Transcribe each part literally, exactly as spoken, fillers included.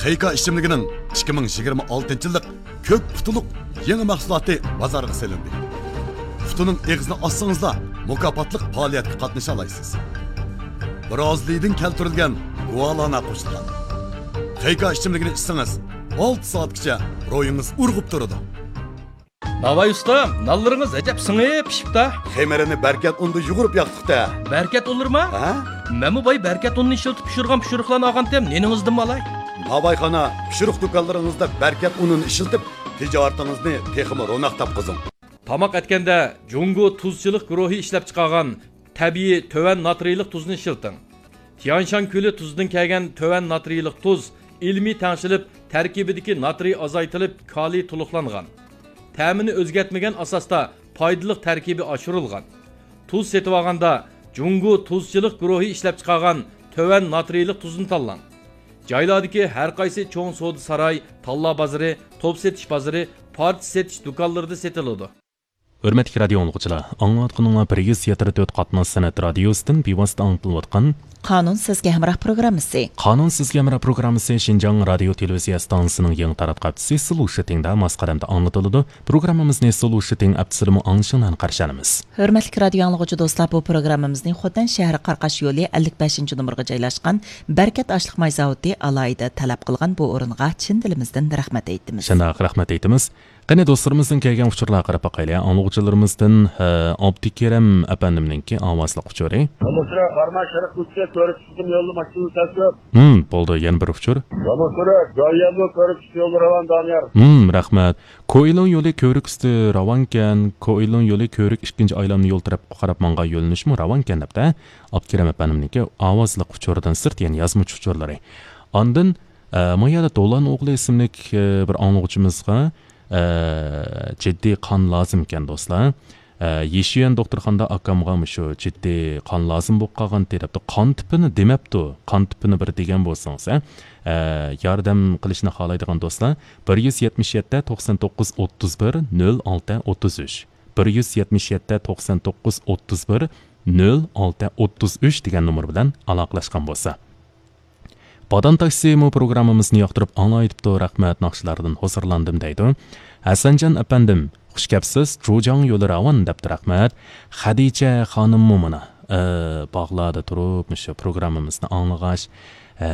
خېيكا ئىچىملىكىنىڭ ئىككى مىڭ يىگىرمە ئالتىنچى يىللىق كۆك قۇتىلىق يېڭى مەھسۇلاتى بازارغا سېلىندى. قۇتىنىڭ ئېغىزىنى ئاچسىڭىزلا، مۇكاپاتلىق پائالىيەتكە قاتنىشالايسىز. برازىلىيەدىن كەلتۈرۈلگەن گۇالانا قوشۇلغان. خېيكا ئىچىملىكىنى ئىچسىڭىز، ئالتە سائەتكىچە روھىڭىز ئۇرغۇپ تۇرىدۇ. ناۋاي ئۇستا، نانلىرىڭىز ئەجەب سىڭىپ پىشىپتا. خېمىرىنى بەركەت ئۇندا يۇغۇرۇپ ياقتۇق-تە. بەركەت ئۇنلىرىما؟ ھە؟ مەنمۇ باي بەركەت ئۇنىنى ئىشلىتىپ پىشۇرغان پىشۇرۇقلارنى ئالغانتىم، نېنىڭىزدىنمۇ ئالاي. ناۋايخانا، پىشۇرۇق دۇكانلىرىڭىزدا بەركەت ئۇنىنى ئىشلىتىپ، تىجارىتىڭىزنى تېخىمۇ روناق تاپقۇزۇڭ. تاماق ئەتكەندە جۇڭگو تۇزچىلىق گۇرۇھى ئىشلەپچىقارغان تەبىئىي تۆۋەن ناترىيلىق تۇزنى ئىشلىتىڭ. تيانشان كۆلى تۇزىدىن كەلگەن تۆۋەن ناترىيلىق تۇز ئىلمىي تەڭشىلىپ، تەركىبىدىكى ناترىي ئازايتىلىپ، كالىي تولۇقلانغان. تەمىنى ئۆزگەرتمىگەن ئاساستا پايدىلىق تەركىبى ئاشۇرۇلغان. تۇز سېتىۋالغاندا جۇڭگو تۇزچىلىق گۇرۇھى ئىشلەپچىقارغان تۆۋەن ناترىيلىق تۇزنى تاللاڭ. جايلاردىكى ھەر قايسى چوڭ سودا ساراي، تاللا بازىرى، توپ سېتىش بازىرى، پارچە سېتىش دۇكانلىرىدا سېتىلىدۇ. ھۆرمەتلىك رادىيو ئاڭلىغۇچىلار، ئاڭلاۋاتقىنىڭلار بىر يۈز يەتتە تۆت قاتناش سەنئەت رادىيوسىدىن بىۋاسىتە ئاڭلىتىلىۋاتقان قانۇن سىزگە ھەمراھ پروگراممىسى. قانۇن سىزگە ھەمراھ پروگراممىسى شىنجاڭ رادىيو تېلېۋىزىيە ئىستانسىسىنىڭ يېڭى تاراتقۇ ھەپتىسى سولو شىتىڭدا ماس قەدەمدە ئاڭلىتىلىدۇ. پروگراممىمىزنى سولو شىتىڭ ھەپتىسىدىمۇ ئاڭلىشىڭلارنى قارشى ئالىمىز. ھۆرمەتلىك رادىيو ئاڭلىغۇچى دوستلار، بۇ پروگراممىمىزنى خوتەن شەھىرى قاراقاش يولى ئەللىك بەشىنچى نومۇرغا جايلاشقان بەرىكەت ئاشلىق ماي زاۋۇتى ئالاھىدە تەلەپ قىلغان بۇ ئورۇنغا چىن دىلىمىزدىن رەھمەت ئېيتىمىز. شۇنداق، رەھمەت ئېيتىمىز. قېنى، دوستلىرىمىزدىن كەلگەن ئۇچۇرلارغا قاراپ باقايلى. ئاڭلىغۇچىلىرىمىزدىن، ھە، ئابدۇكېرەم ئەپەندىمنىڭكى ئاۋازلىق ئۇچۇرى. يامۇسۇرە، بارما شەرق كوچىسى كۆرۈك چىقىم يولى ماشىنا تەسلىم. ھىم، بولدى، يەنە بىر ئۇچۇر. يامۇسۇرە، جاييەنلو كۆرۈك چىقىم يولى راۋان دانىيار. ھىم، رەھمەت. كوئىلۇڭ يولى كۆرۈك ئۈستى راۋانكەن، كوئىلۇڭ يولى كۆرۈك ئىككىنچى ئايلامنى يول تەرەپكە قاراپ ماڭغان يۆنىلىشمۇ راۋانكەن دەپتە. ئابدۇكېرەم ئەپەندىمنىڭكى ئاۋازلىق ئۇچۇرىدىن سىرت، يەنى يازمىچە ئۇچۇرلىرى. ئاندىن، ئە، ما يەردە دولان ئوغلى ئىسىملىك، ئە، بىر ئاڭلىغۇچىمىزغا، ئە، جىددىي قان لازىمكەن، دوستلار. ئە، يېشىيۈەن دوختۇرخانىدا ئاكامغا مۇشۇ جىددىي قان لازىم بولۇپ قالغانتى دەپتۇ. قان تىپىنى دېمەپتۇ. قان تىپىنى بىر دېگەن بولسىڭىز، ھە؟ ئە، ياردەم قىلىشنى خالايدىغان دوستلار، بىر يۈز يەتمىش يەتتە، توقسان توققۇز، ئوتتۇز بىر، نۆل ئالتە، ئوتتۇز ئۈچ، بىر يۈز يەتمىش يەتتە، توقسان توققۇز، ئوتتۇز بىر، نۆل ئالتە، ئوتتۇز ئۈچ دېگەن نومۇر بىلەن ئالاقىلەشكەن بولسا. بادام تاكسىمۇ پروگراممىمىزنى ياقتۇرۇپ ئاڭلايدىپتۇ، رەھمەت، ناخشىلاردىن ھۇزۇرلاندىم دەيدۇ. ھەسەنجان ئەپەندىم، خۇشكەپسىز، جۇجاڭ يولى راۋان دەپتۇ، رەھمەت. خەدىچە خانىممۇ مانا، ئە، باغلاردا تۇرۇپ، مۇشۇ پروگراممىمىزنى ئاڭلىغاچ، ئە،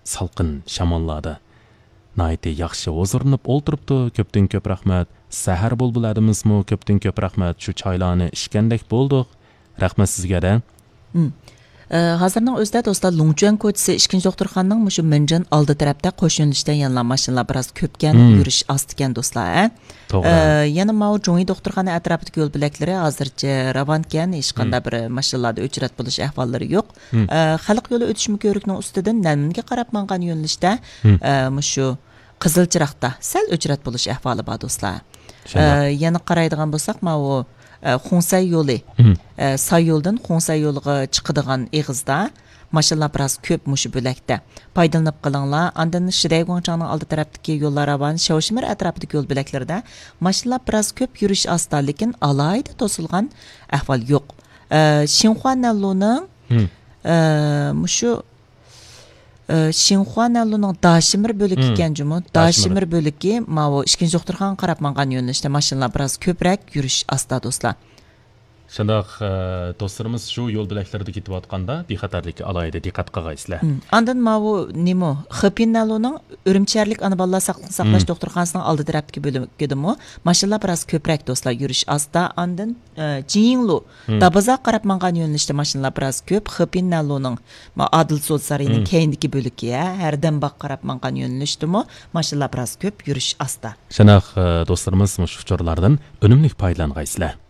سالقىن شاماللاردا ناھايىتى ياخشى ھۇزۇرلىنىپ ئولتۇرۇپتۇ، كۆپتىن كۆپ رەھمەت. سەھەر بۇلبۇل ھەدىمىزمۇ كۆپتىن كۆپ رەھمەت، شۇ چايلارنى ئىچكەندەك بولدۇق. رەھمەت سىزگە-دە. مم. ئە، ھازىرنىڭ ئۆزىدە دوستلار، لۇڭچۈەن كوچىسى ئىككىنچى دوختۇرخانىنىڭ مۇشۇ مىنجىن ئالدى تەرەپتە قوش يۆنىلىشتە يەنىلا ماشىنىلار بىراز كۆپكەن، مم، يۈرۈش ئاستىكەن دوستلار، ھە؟ توغرا. ئە، يەنە ماۋۇ جۇڭيى دوختۇرخانا ئەتراپىدىكى يول بۆلەكلىرى ھازىرچە راۋانكەن، ھېچقانداق، مم، بىر ماشىنىلاردا ئۆچرەت بولۇش ئەھۋاللىرى يوق. مم. ئە، خەلق يولى ئۆتۈشمە كۆۋرۈكنىڭ ئۈستىدىن نەنمىنگە قاراپ ماڭغان يۆنىلىشتە، مم، ئە، مۇشۇ قىزىل چىراغدا سەل ئۆچرەت بولۇش ئەھۋالى بار دوستلار. شۇنداق. ئە، يەنە قارايدىغان بولساق، ماۋۇ، ئە، خۇڭسەي يولى، مم، ئە، ساي يولىدىن خۇڭسەي يولىغا چىقىدىغان ئېغىزدا ماشىنىلار بىراز كۆپ مۇشۇ بۆلەكتە. پايدىلىنىپ قېلىڭلار. ئاندىن شىدەيگۇڭچاڭنىڭ ئالدى تەرەپتىكى يوللار راۋان، شاۋشىمىر ئەتراپىدىكى يول بۆلەكلىرىدە ماشىنىلار بىراز كۆپ، يۈرۈش ئاستا، لېكىن ئالاھىدە توسۇلغان ئەھۋال يوق. ئە، شىنخۇا نەنلۇنىڭ، مم، ئە، مۇشۇ ئى، شىنخۇا نەنلۇنىڭ داشىمىر بۆلىكى، مم، ئىكەن جۇمۇ. داشىمىر. داشىمىر بۆلىكى ماۋۇ ئىككىنچى دوختۇرخانىغا قاراپ ماڭغان يۆنىلىشتە ماشىنىلار بىراز كۆپرەك، يۈرۈش ئاستا دوستلار. شۇنداق، ئى، دوستلىرىمىز شۇ يول بۆلەكلىرىدە كېتىۋاتقاندا بىخەتەرلىككە ئالاھىدە دىققەت قىلغايسىلەر. مم. ئاندىن ماۋۇ نېمۇ، خېپىن نەنلۇنىڭ ئۈرۈمچى شەھەرلىك ئانا بالىلار ساقلىقنى ساقلاش، مم، دوختۇرخانىسىنىڭ ئالدى تەرەپتىكى بۆلىكىدىمۇ ماشىنىلار بىراز كۆپرەك دوستلار، يۈرۈش ئاستا. ئاندىن، ئى، جىڭلۇ، مم، دابازاغا قاراپ ماڭغان يۆنىلىشتە ماشىنىلار بىراز كۆپ. خېپىن نەنلۇنىڭ ما-، ئادىل سودا سارىيىنىڭ، مم، كەينىدىكى بۆلىكى، ھە، ھەردەمباغقا قاراپ ماڭغان يۆنىلىشتىمۇ ماشىنىلار بىراز كۆپ، يۈرۈش ئاستا. شۇنداق، ئى، دوستلىرىمىز مۇشۇ ئۇچۇرلاردىن ئۈنۈملۈك پايدىلانغايسىلەر.